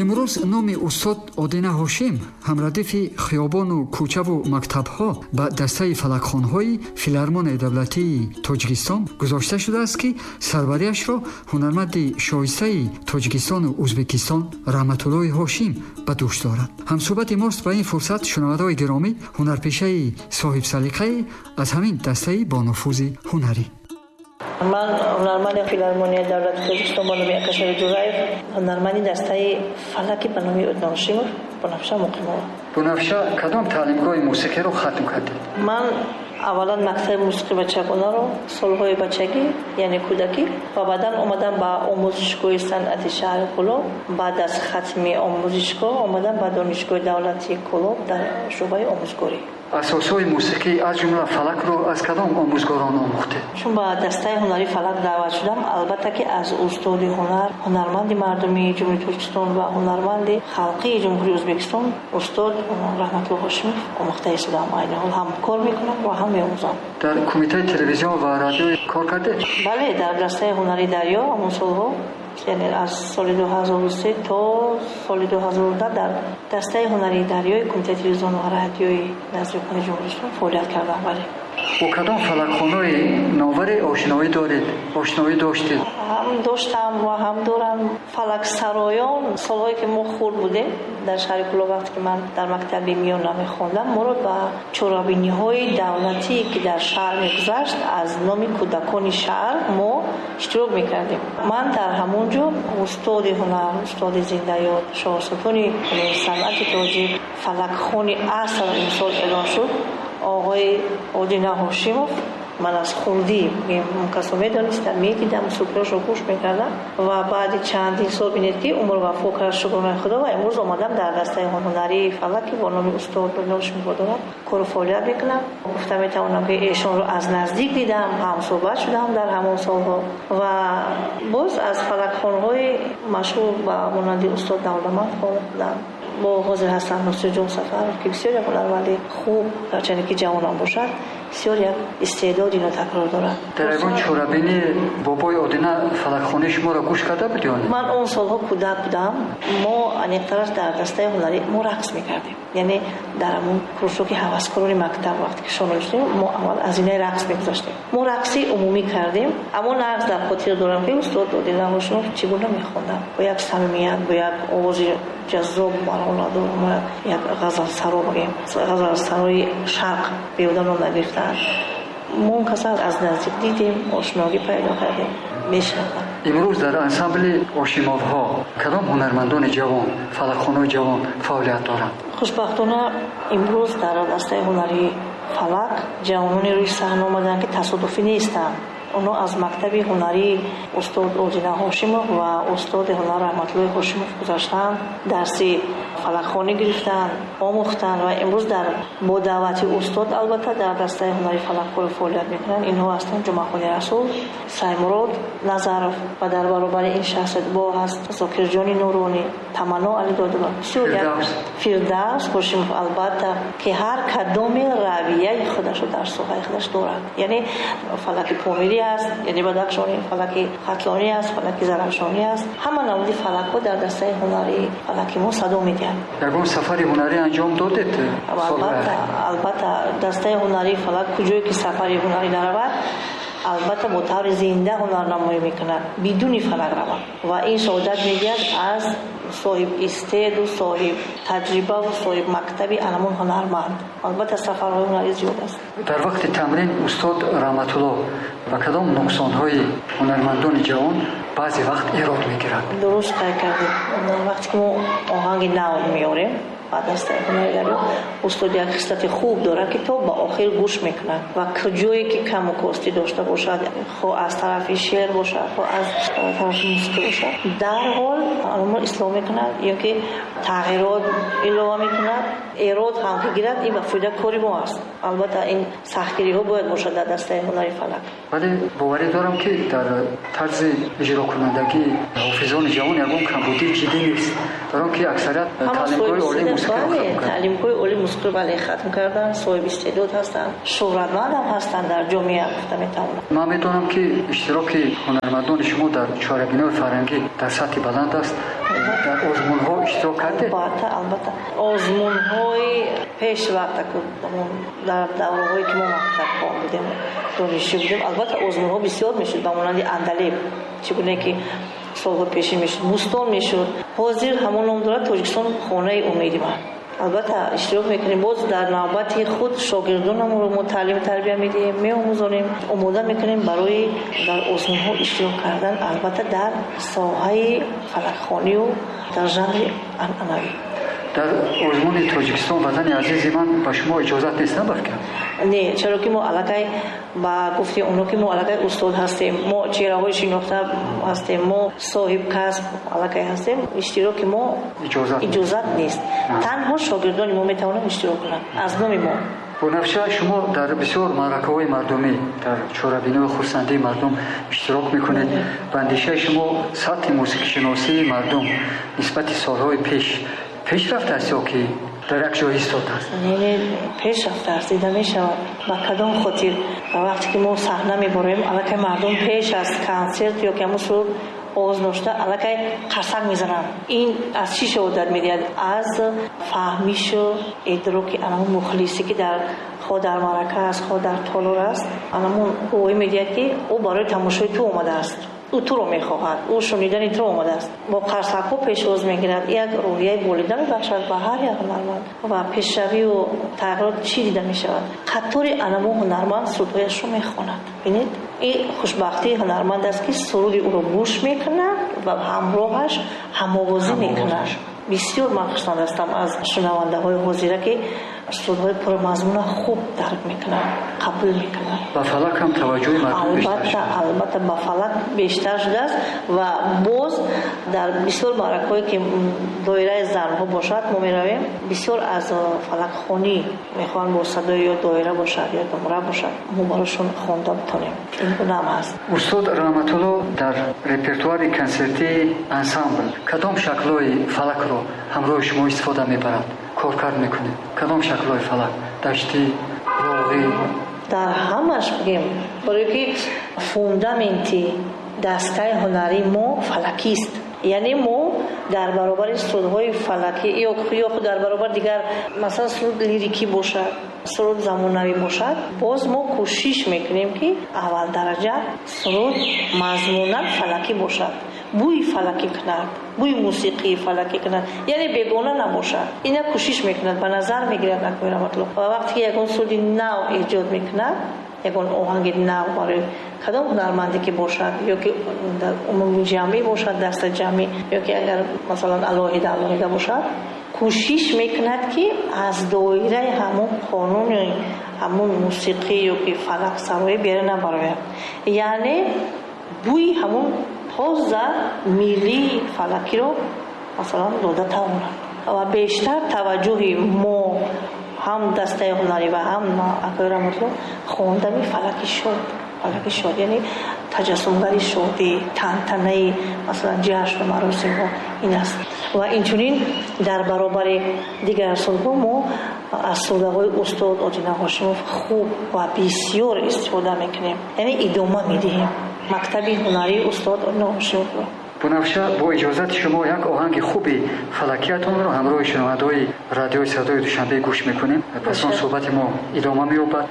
Имрӯз номи устод Одина Ҳошим ҳамрадифи хиёбону кӯчаву мактабҳо ба дастаи фалакхонҳои Филармонияи давлатии Тоҷикистон гузошта шудааст, ки сарвариашро ҳунарманди шоистаи Тоҷикистону Ӯзбекистон Раҳматуллоҳи Ҳошим ба дӯш дорад. Ҳамсӯҳбати мост ба ин фурсат, шунавандаҳои гиромӣ, ҳунарпешаи соҳибсалиқае аз ҳамин дастаи бонуфузи ҳунарӣ. Ман ҳунарманди Филармонияи давлати Тоҷикистон ба номи Акашари Ҷураев, ҳунарманди дастаи фалаки ба номи Одина Ҳошимов, Бунафша Муқимова. Бунафша, кадом таълимгоҳи мусиқиро хатм кардед? Ман аввалан мактаби мусиқи бачагонаро солҳои бачагӣ, яъне кӯдакӣ, ва баъдан омадам ба омӯзишгоҳи санъати шаҳри Кӯлоб. Баъд аз хатми омӯзишгоҳ омадам ба Донишгоҳи давлатии Кӯлоб дар шӯъбаи омӯзгорӣ. Асосҳои мусиқӣ аз ҷумла фалакро аз кадом омӯзгорон омӯхтед? Чун ба дастаи ҳунарии фалак даъват шудам, албатта ки аз устоди ҳунар, ҳунарманди мардумии Ҷумҳурии Тоҷикистон ва ҳунарманди халқии Ҷумҳурии Ӯзбекистон устод Раҳматулло Ҳошимов омӯхта истодам. Айни ҳол ҳам кор мекунам ва ҳам меомӯзам. Дар кумитаи телевизион ва радио кор кардед? Бале, дар дастаи ҳунарии Дарё ҳамон солҳо, яъне аз соли 2003 то соли 2010 дар дастаи ҳунарии Дарёи кумитаи телевизион ва радиои назди ҳукумати Ҷумҳурии Тоҷикистон фаъолият кардам. Бале. Бо кадом фалакхонаи новаре ошноӣ доред, ошноӣ доштед? Ҳам доштам ва ҳам дорам. Фалаксароён солҳое ки мо хурд будем дар шаҳри Кӯлоб, вақте ки ман дар мактаби миёна мехондам, моро ба чорабиниҳои давлатӣ, ки дар шаҳр мегузашт, аз номи кӯдакони шаҳр мо иштирок мекардем. Ман дар ҳамон ҷо устоди ҳунар, устоди зиндаёд, шоҳсутуни санъати тоҷик, фалакхони аср имсол эълон шуд, оғои Одина Ҳошимов. Ман аз хурдӣ он касро медонистам, медидам, сукрашро гӯш мекардам ва баъди чандин сол бинед ки умр вафо кард, шукронаи Худо, ва имрӯз омадам дар дастаи ҳунарии фалаки бо номи устод Одина Ҳошимов дорам кору фаъолият мекунам. Гуфта метавонам ки эшонро аз наздик дидам, ҳамсӯҳбат шудам дар ҳамон солҳо ва боз аз фалакхонҳои машҳур ба монанди устод Давлатманд хондам. Бо ҳозир ҳастам Нусратҷон Сафаров, ки бисёр як ҳунарманди хуб, гарчанде ки ҷавонам бошад, бисёр як истеъдоди нотакрор дорад. Дар ягон чорабинӣ бобои Одина фалакхонаи шуморо гӯш карда буд ё не? Ман он солҳо кӯдак будам. Мо аниқтараш дар дастаи ҳунарӣ мо рақс мекардем, яъне дар ҳамон кружоки ҳаваскорони мактаб вақте ки шомил шудем, мо аввал аз инаи рақс мегузаштем. Мо рақси умумӣ кардем, аммо нағз дар хотир дорам ки устод Одина Ҳошимов чӣ гуна мехонданд, бо як самимият, бо як овози ҷаззоб баромаду як ғазалсаро бигем, ғазалсарои шарқ беҳуда ном нагирифтаанд. Мо он касро аз наздик дидем, ошногӣ пайдо кардем, мешинохтам. Имрӯз дар ансамбли Ҳошимовҳо кадом ҳунармандони ҷавон, фалакхонаи ҷавон фаъолият доранд? Хушбахтона имрӯз дар дастаи ҳунарии фалак ҷавононе рӯи саҳна омаданд, ки тасодуфӣ нестанд. Онҳо аз мактаби ҳунарии устод Одина Ҳошимов ва устоди ҳунар Раҳматуллоҳи Ҳошимов гузаштанд, дарси фалакхонӣ гирифтанд, омӯхтанд ва имрӯз бо даъвати устод албатта дар дастаи ҳунарии фалак кор фаъолият мекунанд. Инҳо ҳастанд Ҷумъахони Расул, Саймурод Назаров ва дар баробари ин шахсият бо ҳаст Зокирҷони Нуронӣ, Таманно Алидодова, Фирдавс Ҳошимов, албатта ки ҳар кадоми равияи худашро дар соҳаи худаш дорад. Яъне фалаки помирӣ аст, яъне бадахшонӣ, фалаки хатлонӣ аст, фалаки зарафшонӣ аст. Ҳама намуди фалакҳо дар дастаи ҳунарии фалаки мо садо медиҳанд. Ягон сафари ҳунарӣ анҷом додед? Албатта, албатта, дастаи ҳунарии фалак куҷое ки сафари ҳунарӣ наравад, албатта бо таври зинда ҳунарнамоӣ мекунад, бидуни фалак равад. Ва ин шаҳодат медиҳад аз соҳиб истеъду соҳиб таҷриба ва соҳиб мактаби анамон ҳунарманд. Албатта сафарҳои ҳунарӣ зиёд аст. Дар вақти тамрин устод Раҳматулло ба кадом нуқсонҳои ҳунармандони ҷавон баъзе вақт эрод мегирад? Дуруст қайд кардед. Вақте ки мо оҳанги нав меорем ба дастаи ҳунарии Дарё, устод як хислати хуб дорад, ки то ба охир гӯш мекунад ва куҷое ки каму костӣ дошта бошад, хоҳ аз тарафи шеър бошад, хоҳ аз тарафи мусиқӣ бошад, дарҳол онро ислоҳ мекунад ё ки тағйирот илова мекунад. Эрод ҳам ки гирад, ин ба фоидаи кори мо аст. Албатта ин сахтгириҳо бояд бошад дар дастаи ҳунарии фалак. Вале боварӣ дорам, ки дар тарзи иҷрокунандагии ҳофизони ҷавон ягон камбудии ҷиддӣ нест, дар он ки аксарият таълимгоҳи олии мусиқиро хатм карданд. Таълимгоҳи олии мусиқиро бале хатм карданд, соҳиби истеъдод ҳастанд, шӯҳратманд ҳам ҳастанд дар ҷомеа, гуфта метавонам. Ман медонам, ки иштироки ҳунармандони шумо дар чорабиниҳои фарҳангӣ дар сатҳи баланд аст. Дар озмунҳо иштирок кардед? Албатта, албатта. Озмунҳои пешвақта, дар давраҳое ки мо мактабхон будем, донишҷӯ будем, албатта озмунҳо бисёр мешуд, ба монанди Андалеб, чӣ гуна ки солҳо пешин мешуд, Бӯстон мешуд. Ҳозир ҳамон ном дорад Тоҷикистон хонаи умеди ман. Албатта иштирок мекунем. Боз дар навбати худ шогирдонамонро мо таълиму тарбия медиҳем, меомӯзонем, омода мекунем барои дар озмунҳо иштирок кардан, албатта дар соҳаи фалакхонию дар жанри анъанавӣ. Дар озмуни Тоҷикистон ватани азизи ман ба шумо иҷозат нест, на балки? Не, чаро ки мо аллакай, ба гуфти онҳо, ки мо аллакай устод ҳастем, мо чеҳраҳои шинохта ҳастем, мо соҳиб касб аллакай ҳастем, иштироки мо иҷозат нест. Танҳо шогирдони мо метавонанд иштирок кунанд аз номи мо. Бунафша, шумо дар бисёр маъракаҳои мардумӣ, дар чорабиниҳои хурсандии мардум иштирок мекунед. Ба андешаи шумо, сатҳи мусиқишиносии мардум нисбати солҳои пеш пеш рафтааст ё ки дар як ҷой истодааст? Не, пеш рафтааст, дида мешавад. Ба кадом хотир? Ба вақте ки мо саҳна мебароем, аллакай мардум пеш аз консерт ё ки ҳамун суруд оғоз дошта, аллакай қарсак мезананд. Ин аз чӣ шаҳодат медиҳад? Аз фаҳмишу идроки анамун мухлисе, ки дар хоҳ дар маърака аст, хоҳ дар толор аст, анамун гувоҳӣ медиҳад, ки ӯ барои тамошои ту омадааст, ӯ туро мехоҳад, ӯ шунидани туро омадааст, бо қарсакҳо пешвоз мегирад. Як рӯҳияи болида мебахшад ба ҳар як ҳунарманд. Ва пешравию тағйирот чӣ дида мешавад? Қатори анамо ҳунарманд сурудҳояшро мехонад. Бинед, ин хушбахтии ҳунарманд аст, ки суруди ӯро гӯш мекунад ва ҳамроҳаш ҳамовозӣ мекунад. Бисёр ман хушнуд ҳастам аз шунавандаҳои ҳозира, ки сурудҳои пурмазмуна хуб дарк мекунанд, қабул мекунанд. Ба фалак ҳам таваҷҷӯҳи мардум бештар? Албатта, албатта, ба фалак бештар шудааст. Ва боз дар бисёр маъракаҳое ки доираи занҳо бошад, мо меравем, бисёр аз фалакхонӣ мехоҳанд, бо садои ё доира бошад, ё думра бошад, мо барошон хонда битонем. Ин гунаам ҳаст. Устод Раҳматулло дар репертуари консертии ансамбл кадом шаклҳои фалакро ҳамроҳи шумо истифода мебарад, коркард мекунед? Кадом шаклҳои фалак? Даштӣ, роғӣ? Дар ҳамаш бигем, барое ки фундаменти дастаи ҳунарии мо фалакист. Яъне мо дар баробари сурудҳои фалакӣ ё худ дар баробари дигар, масалан, суруд лирикӣ бошад, суруд замонавӣ бошад, боз мо кӯшиш мекунем, ки аввал дараҷа суруд мазмунан фалакӣ бошад, бӯи фалакӣ кунад, бӯи мусиқии фалакӣ кунад, яъне бегона набошад. Ина кӯшиш мекунад, ба назар мегирад акои Раҳматулло. Ва вақте ки ягон суруди нав эҷод мекунад, ягон оҳанги нав барои кадом ҳунарманде ки бошад, ё ки дар умуми ҷамъӣ бошад, даста ҷамъӣ, ё ки агар масалан алоҳида алоҳида бошад, кӯшиш мекунад, ки аз доираи ҳамон қонуни ҳамон мусиқӣ ё ки фалаксароӣ берун набарояд, яъне бӯи ҳамон тоза миллии фалакиро масалан дода тавонад. Ва бештар таваҷҷӯҳи мо, ҳам дастаи ҳунарӣ ва ҳам акои Раҳматулло, хондани фалаки шод. Фалаки шод яъне таҷассумгари шодӣ, тантанаи масалан ҷашну маросимҳо ин аст. Ва инчунин дар баробари дигар сурудҳо мо аз сурудҳои устод Одина Ҳошимов хуб ва бисёр истифода мекунем, яъне идома медиҳем мактаби ҳунарии устод Одина Ҳошимовро. Бунафша, бо иҷозати шумо як оҳанги хуби фалакиятонро ҳамроҳи шунавандаҳои радиои Садои Душанбе гӯш мекунем. Пас он суҳбати мо идома меёбад.